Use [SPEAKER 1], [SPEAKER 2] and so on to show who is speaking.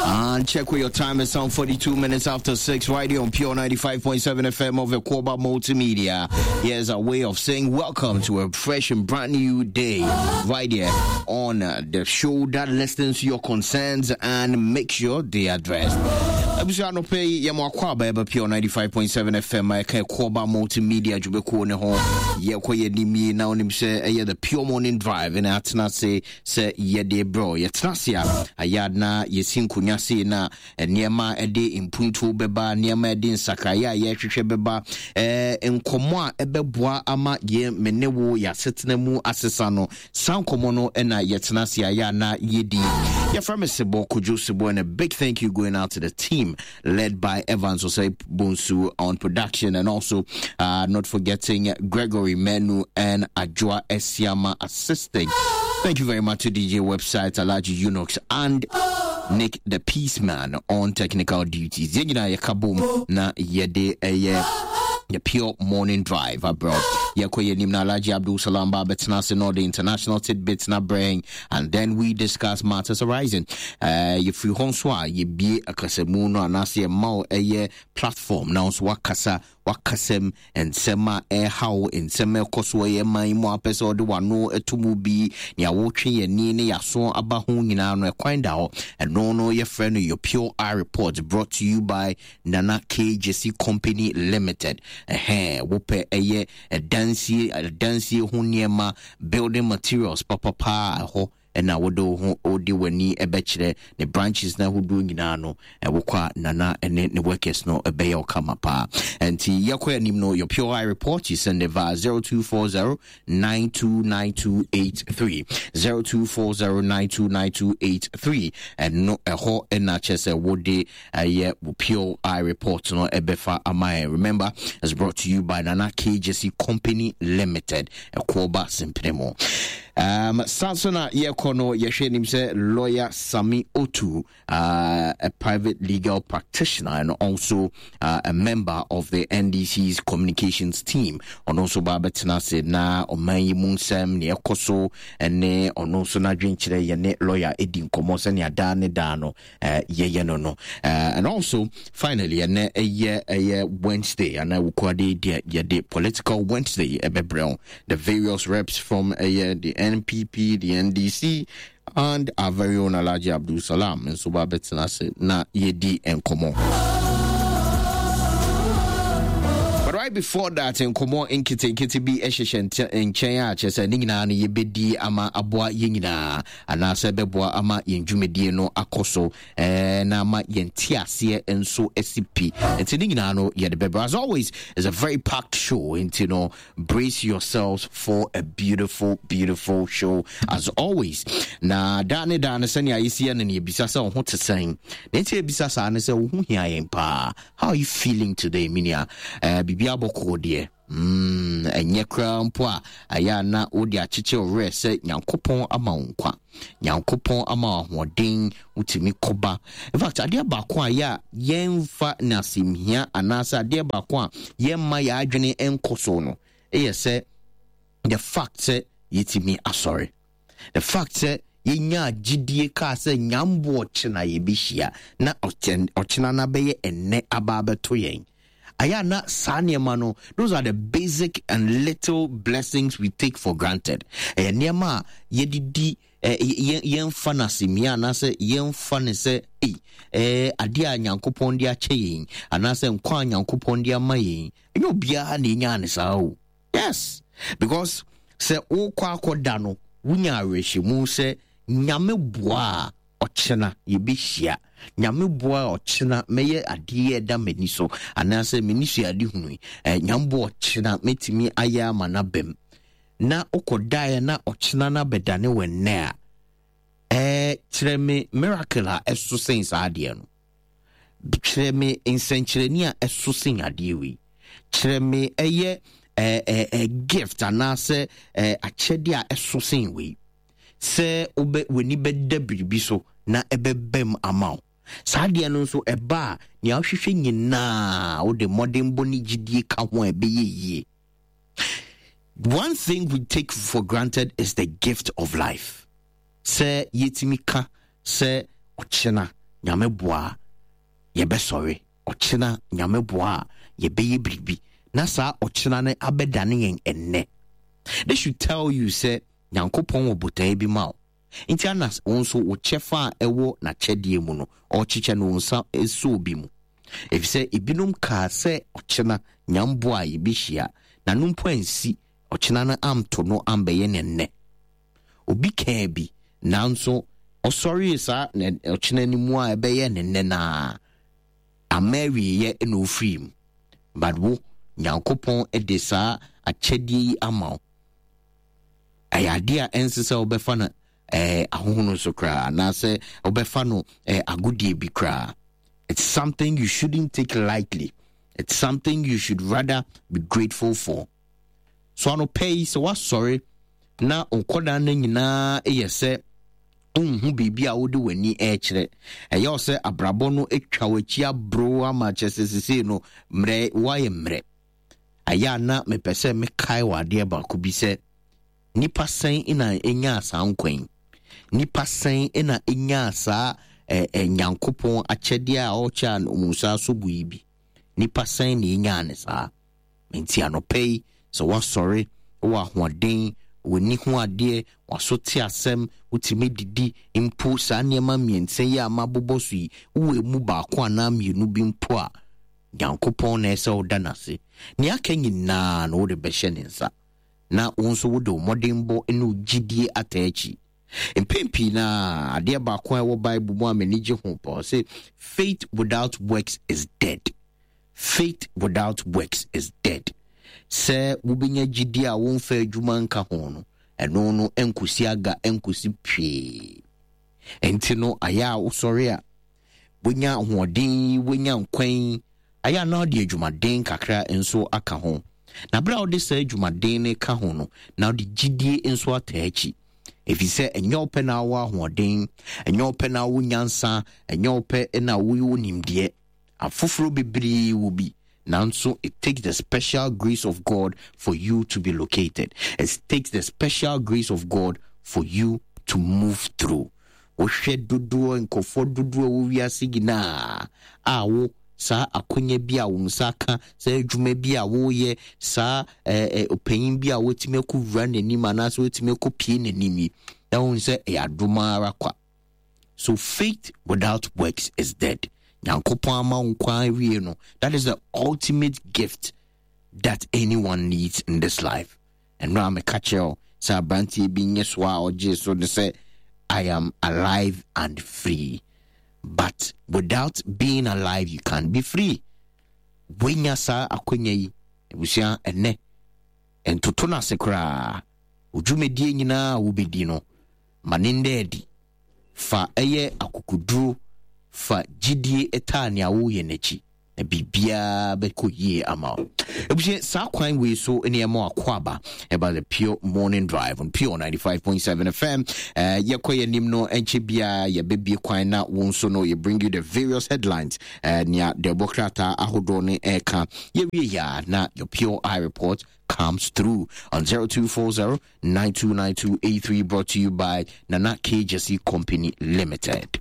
[SPEAKER 1] And check where your time is on 42 minutes after 6 right here on Pure 95.7 FM of Ekoba Multimedia. Here's a way of saying welcome to a fresh and brand new day right here on the show that listens to your concerns and make sure they are addressed. Abusua anɔpɛ yi yɛn akɔ aba ɛba Pure 95.7 FM a ɛka Ekoba Multimedia dwumakuo ne ho. Yɛkɔ yɛn anim yi na onim sɛ ɛyɛ the Pure Morning Drive na atena ase sɛ yɛde brɛ wo. Yɛtena ase a, ayɛ a na yɛsi nkonnwa sei na nneɛma a ɛde mpuntuo bɛba, nneɛma a ɛde nsakraeɛ a yɛrehwehwɛ bɛba, ɛɛ nkɔmmɔ a ɛbɛboa ama yɛn me ne wo yɛn asetena mu asesa no, saa nkɔmmɔ no na yɛtena ase a yɛ a na yɛdi. Yɛfrɛ me Sebɔ Kojo Sebɔ and a big thank you going out to the team led by Evans Osei Bonsu on production and also uh, not forgetting Gregory Menu and Ajua Esiama assisting. Thank you very much to DJ website Alaji Unox and Nick the Peaceman on technical duties. Yɛn nyinaa yɛka bom na yɛde ɛyɛ the pure morning drive abroad. Yɛkɔ yɛn anim na Alhaji Abdul Salam ba abɛtena ase na ɔde international tidbits na brɛn and then we discuss matters arising. Uh, yɛfiri hɔ nso a yɛbie akasamu no anaasɛ yɛma wo ɛyɛ platform na nso wakasa wakasɛm nsɛm a ɛrehaw nsɛm a ɛkɔ so ɛyɛ man yi mu a apɛ sɛ ɔde wano to mu bi nea wotwe yɛn ani ne yɛaso aba ho nyinaa no ɛkwan da hɔ ɛno no yɛfrɛ no your pure eye report brought to you by Nana K Jesse Company Limited ɛhɛn wopɛ ɛyɛ ɛdansie ɛdansie ho nneɛma building materials papapaa ɛhɔ ɛna wode wo ho wode w'ani ɛbɛkyerɛ ne branches no ahodoɔ nyinaa no ɛwokɔ a nana ɛne ne workers no ɛbɛyɛ wo kama paa ɛnti yɛkɔ anim no your pure eye report you send it via 0240 929283 0240 929283 ɛno ɛhɔ ɛna kyerɛ sɛ wode ɛyɛ wo pure eye report no ɛbɛfa ama yɛn remember it's brought to you by Nana KJC Company Limited ɛkoɔba sempene mu um, saa so na yɛkɔ no yɛhwɛ anim sɛ lawyer Sami Otu uh, a private legal practitioner and also uh, a member of the NDC's communications team ɔno nso ba bɛtena ase na ɔman yi mu nsɛm nea ɛkɔ so ne ɔno nso n'adwenkyerɛ yɛne lawyer ɛdi nkɔmmɔ sɛnea daa ne daa no uh, yɛyɛ no no uh, and also finally ɛnɛ ɛyɛ ɛyɛ Wednesday anaa wukuade deɛ yɛde political Wednesday ɛbɛbrɛ wo the various reps from ɛyɛ the NPP the NDC and our very own Alhaji Abdul Salam nso ba bɛtena ase na yɛdi nkɔmmɔ But right before that, nkɔmmɔ nketenkete bi hyehyɛ nkyɛn a kyerɛ sɛ ne nyinaa no yɛbɛdi ama aboa yɛn nyinaa anaasɛ ɛbɛboa ama yɛn dwumadie no akɔ so eh, na ama yɛn nteaseɛ nso asi pi nti ne nyinaa no yɛde bɛbrɛ as always it's a very packed show nti no brace yourselves for a beautiful beautiful show as always na daa ne daa no sɛnea yɛsi yɛ no no yɛbisa sɛ wo ho te sɛn na nti yɛbisa saa ne sɛ wo ho hia yɛn paa how are you feeling today menua eh, biribi abɔkɔɔ deɛ Mm, ɛnyɛ koraa mpo a, ɛyɛ a na wode akyekye wo werɛ sɛ Nyankopɔn ama wo nkwa. Nyankopɔn ama wo ahoɔden, wotumi kɔba. In fact, adeɛ baako a yɛ a yɛmfa no asɛmhia anaasɛ adeɛ baako a yɛmma yɛn adwene nkɔ so no, ɛyɛ sɛ the fact sɛ yɛtumi asɔre. The fact sɛ yɛnyaa gyidie kaa sɛ nyambo ɔkyena yɛbɛhyia na ɔkyena no abɛyɛ ɛnnɛ aba abɛto yɛn. Ayɛ a na saa nneɛma no, those are the basic and little blessings we take for granted. Ɛyɛ nneɛma a yɛde di yɛmfa no asɛmia anaasɛ yɛmfa no sɛ ei ɛɛ adeɛ a Nyankopɔn de akyɛ yɛn anaasɛ nkwa a Nyankopɔn de ama yɛn. Ɛnyɛ obiara na ɛnyaa ne saa o. Yes, because sɛ wokɔ akɔda no, wonya awerɛhyɛmu sɛ Nyame boa a ɔkyena yɛbɛhyia. Nyame boa a ɔkyena mɛyɛ adeɛ a ɛda m'ani so anaasɛ m'ani so ade hunu yi. Eh, Nyame boa ɔkyena mɛtumi ayɛ ama no abam. Na wokɔdaeɛ na ɔkyena no abɛdane wɔ nnɛ a, eh, kyerɛ me miracle a ɛso sen saa adeɛ no. Kyerɛ me nsɛnkyerɛnne a ɛso sen adeɛ wei. Kyerɛ me ɛyɛ ɛɛ ɛɛ gift anaasɛ ɛɛ akyɛdeɛ a ɛso sen wei. Sɛ wobɛ w'ani bɛda biribi so na ɛbɛbam ama wo. Saa adeɛ no nso ɛba a nea wohwehwɛ nyinaa wode mmɔdenbɔ ne gyidie ka ho a ɛbɛyɛ yie. One thing we take for granted is the gift of life. Sɛ yɛtumi ka sɛ ɔkyena Nyame boa a, yɛbɛsɔre. Ɔkyena, Nyame boa a, yɛbɛyɛ biribi. Na saa ɔkyena no abɛdane yɛn ɛnnɛ. This should tell you sɛ Nyankopɔn wɔ botaeɛ bi ma wo. Nti ana wo nso wo kyɛfa a ɛwɔ n'akyɛdeɛ mu no, ɔrekyekyɛ no wo nsa sɔ obi mu? Efisɛ ebinom kaa sɛ ɔkyena, Nyame boa a, yɛbɛhyia. Na no mpo ansi, ɔkyena no amto no ambɛyɛ no ɛnnɛ. Obi kaa bi, nanso ɔsɔree saa ɔkyena no mu a ɛbɛyɛ ne nnɛ no ara, amma awieeɛ na ɔfirii mu. But wo, Nyankopɔn de saa akyɛdeɛ yi ama wo. Ɛyɛ adeɛ a ɛnsɛ sɛ wobɛfa no eh, ahohono so koraa anaasɛ wobɛfa no eh, agodie bi koraa. It's something you shouldn't take lightly. It's something you should rather be grateful for. So anɔpa yi sɛ woasɔre na nkɔdaa no nyinaa yɛ sɛ wonhu biribi a wode w'ani rekyerɛ ɛyɛ wo sɛ abrabɔ no atwa w'akyi aboro ama kyerɛ sɛ sesei no mmerɛ woayɛ mmerɛ ayɛ a na mepɛ sɛ mekae wɔ adeɛ baako bi sɛ nipa sɛn na ɛnyaa saa nkwa yi nipa sɛn na ɛnyaa saa eh, eh, nyankopɔn akyɛdeɛ a ɔkyɛ a ɔmu nsa so bu yi bi nipa sɛn na ɛnyaa ne saa Enti anɔpa yi, sɛ woasɔre, wowɔ ahoɔden, w'ani hu adeɛ, w'aso te asɛm, wotumi didi mpo, saa nneɛma mmiɛnsa yi a mabobɔ so yi, wowɔ emu baako anaa mmienu bi mpo a, Nyankopɔn na ɛsɛ woda no ase. Nea aka nyinaa no wode bɛhyɛ ne nsa, na wo nso wode wo mmɔdenbɔ ne wo gyidie ataa akyi. Mpɛn pii no ara, adeɛ baako a ɛwɔ Bible mu a m'ani gye ho paa, ɔse, faith without works is dead. Faith without works is dead. Sɛ wobɛnya gyidie a womfa adwuma nka ho no, ɛno no nkosi aga nkosi pwee. Ɛnti no ayɛ a wosɔre a wonya ahoɔden yi, wonya nkwa yi, ayɛ a na wode adwumaden kakra nso aka ho. Na berɛ a wode saa adwumaden no ka ho no, na wode gyidie nso ataa akyi. Ɛfiri sɛ ɛnyɛ wo pɛ na wowɔ ahoɔden, ɛnyɛ wo pɛ na wowɔ nyansa, ɛnyɛ wo pɛ na wowɔ nimdeɛ. Afoforo bebree wɔ bi, nanso it takes the special grace of God for you to be located. It takes the special grace of God for you to move through. Wohwɛ dodoɔ nkurɔfoɔ dodoɔ a wɔ wiase nyinaa a wo saa akonya bi a wo nsa ka, saa adwuma bi a woyɛ, saa ɛɛ ɔpanyin bi a wotumi akɔwura n'anim anaasɛ wotumi akɔpie n'anim yi, na wohu sɛ ɛyɛ adom ara kwa. So faith without works is dead. Nyankopɔn ama wo nkwa awie no. That is the ultimate gift that anyone needs in this life. Ɛno a meka kyerɛ wo sɛ aberanteɛ bi nye so a ɔgyee so ne sɛ I am alive and free. But without being alive, you can't be free. Woanya saa akwanya yi, abusua ɛnɛ, ntoto no ase koraa. Wo dwumadie nyinaa a wobɛdi no, Ma no nna adi. Fa ɛyɛ akokoduro, fa gyidie taa nea woreyɛ no akyi, na biribiara bɛkɔ yie ama wo. Abusua, saa kwan wei so ne ɛma akwaaba ɛba the Pure Morning Drive on Pure 95.7 FM. Uh, yɛkɔ yɛn anim no nkyɛ biara yɛbɛbie kwan na wo nso no yɛ bring you the various headlines uh, nea dɛbɔ krataa ahodoɔ no ɛka yɛwie yɛ a na your Pure Eye Report comes through on 0240 929283 brought to you by Nana K. Jesse Company Limited.